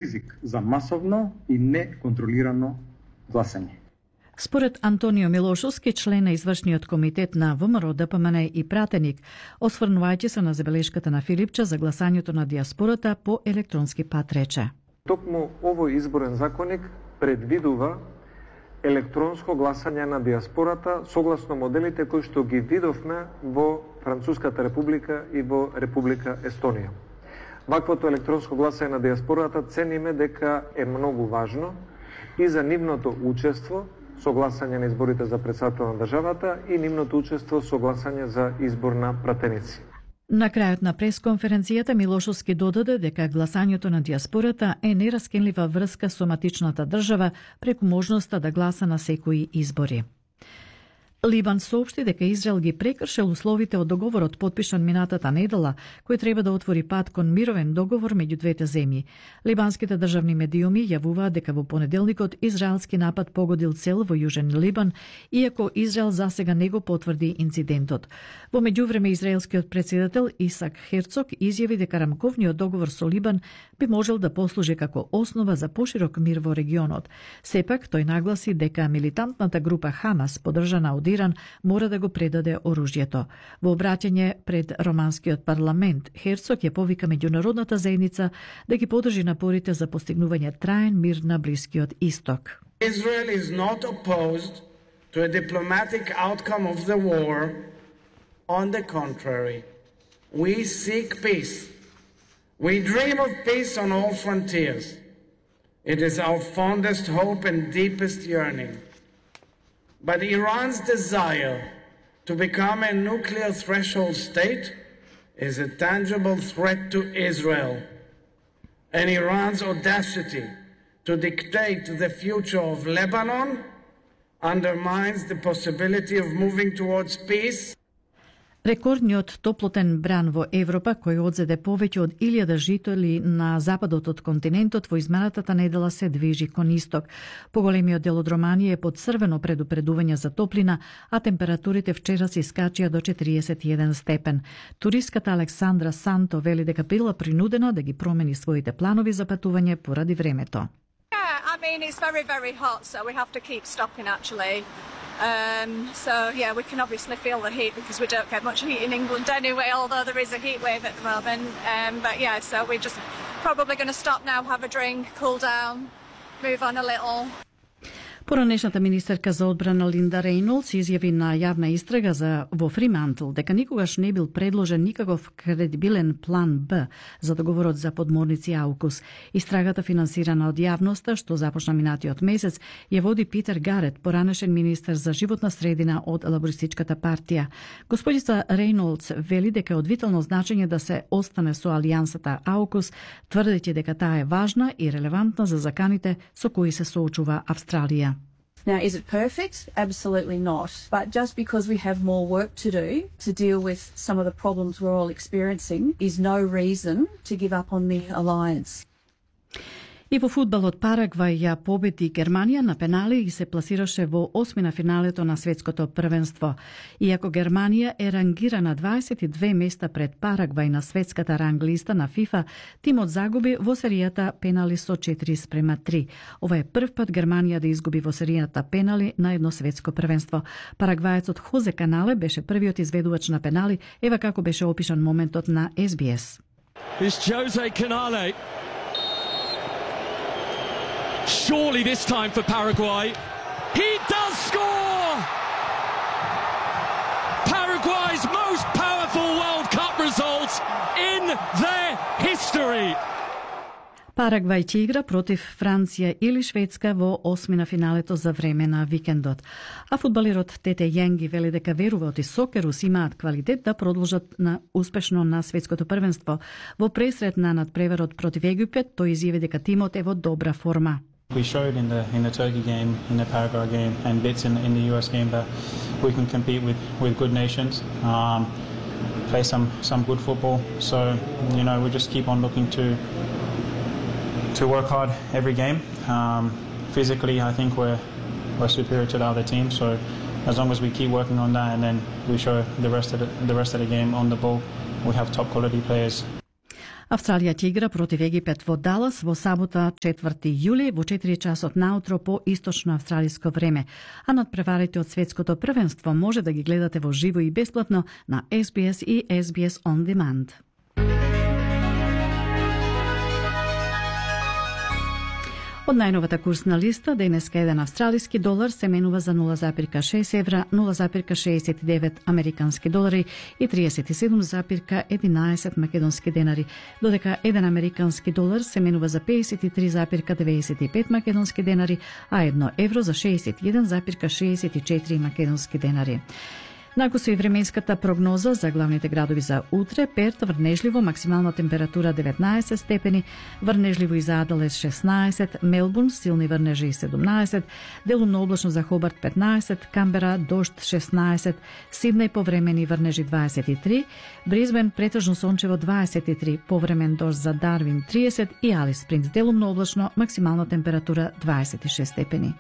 ризик за масовно и неконтролирано гласање. Според Антонио Милошовски, член на извршниот комитет на ВМРО, ДПМН и пратеник, осврнувајќи се на забелешката на Филипче за гласањето на диаспората по електронски пат, рече: Токму овој изборен законник предвидува електронско гласање на диаспората согласно моделите кои што ги видовме во Француската република и во Република Естонија. Ваквото електронско гласање на диаспората цениме дека е многу важно и за нивното учество со гласање на изборите за председател на државата и нивното учество со гласање за избор на пратеници. На крајот на пресконференцијата Милошовски додаде дека гласањето на диаспората е нераскинлива врска со матичната држава преку можноста да гласа на секои избори. Либан соопшти дека Израел ги прекршил условите од договорот подпишан минатата недела, кој треба да отвори пат кон мировен договор меѓу двете земји. Либанските државни медиуми јавуваат дека во понеделникот израелски напад погодил цел во Јужен Либан, иако Израел засега не го потврди инцидентот. Во меѓувреме израелскиот претседател Исак Херцог изјави дека рамковниот договор со Либан би можел да послужи како основа за поширок мир во регионот. Сепак тој нагласи дека милитантната група Хамас, поддржана од Иран, мора да го предаде оружјето. Во обраќање пред романскиот парламент, Херцог ја повика меѓународната заедница да ги поддржи напорите за постигнување траен мир на Блискиот Исток. Israel is not opposed to a diplomatic outcome of the war. On the contrary, we seek peace. We dream of peace on all frontiers. It is our fondest hope and deepest yearning. But Iran's desire to become a nuclear threshold state is a tangible threat to Israel. And Iran's audacity to dictate the future of Lebanon undermines the possibility of moving towards peace. Рекордниот топлотен бран во Европа, кој одзеде повеќе од 1000 жители на западот од континентот, во изминатата недела се движи кон исток. Поголемиот дел од Романија е под црвено предупредување за топлина, а температурите вчера се искачија до 41 степен. Туристката Александра Санто вели дека била принудена да ги промени своите планови за патување поради времето. I mean, it's very, very hot, so we have to keep stopping actually. So yeah, we can obviously feel the heat because we don't get much heat in England anyway, although there is a heat wave at the moment. But yeah, so we're just probably going to stop now, have a drink, cool down, move on a little. Поранешната министерка за одбрана Линда Рейнолдс изјави на јавна истрага во Фримантл дека никогаш не бил предложен никаков кредибилен план Б за договорот за подморници Аукус. Истрагата финансирана од јавноста, што започна минатиот месец, ја води Питер Гарет, поранешен министер за животна средина од Лабористичката партија. Господица Рейнолдс вели дека е од витално значење да се остане со алијансата Аукус, тврдејќи дека таа е важна и релевантна за заканите со кои се соочува Австралија. Now, is it perfect? Absolutely not. But just because we have more work to do to deal with some of the problems we're all experiencing is no reason to give up on the alliance. И во фудбалот Парагвај ја победи Германија на пенали и се пласираше во осмина финалето на светското првенство. Иако Германија е рангирана 22 места пред Парагвај на светската ранглиста на ФИФА, тимот загуби во серијата пенали со 4:3. Ова е прв пат Германија да изгуби во серијата пенали на едно светско првенство. Парагвајецот Хозе Канале беше првиот изведувач на пенали, ева како беше опишан моментот на SBS. It's Jose Canale. Surely this time for Paraguay. He does score! Paraguay's most powerful World Cup result in their history. Парагвај ќе игра против Франција или Шведска во осмина финалето за време на викендот. А фудбалерот Тете Јенги вели дека веруваат и Сокерус имаат квалитет да продолжат успешно на светското првенство. Во пресрет на надпреварот против Египет, тој изјави дека тимот е во добра форма. We showed in the Turkey game, in the Paraguay game, and bits in the US game that we can compete with good nations, play some good football. So we just keep on looking to work hard every game. Physically, I think we're superior to the other team. So as long as we keep working on that, and then we show the rest of the game on the ball, we have top quality players. Австралија ќе игра против Египет во Далас во сабота 4 јули во 4 часот наутро по источно австралиско време. А надпреварите од светското првенство може да ги гледате во живо и бесплатно на SBS и SBS On Demand. Од најновата курсна листа, денеска еден австралиски долар се менува за 0,6 евра, 0,69 американски долари и 37,11 македонски денари, додека еден американски долар се менува за 53,95 македонски денари, а 1 евро за 61,64 македонски денари. Нако со и временската прогноза за главните градови за утре: Перт врнежливо, максимална температура 19 степени, врнежливо и за Аделаид 16, Мелбурн силни врнежи 17, делумно облачно за Хобарт 15, Камбера дожд 16, Сиднеј повремени врнежи 23, Бризбен претежно сончево 23, повремен дожд за Дарвин 30 и Алис Спрингс делумно облачно, максимална температура 26 степени.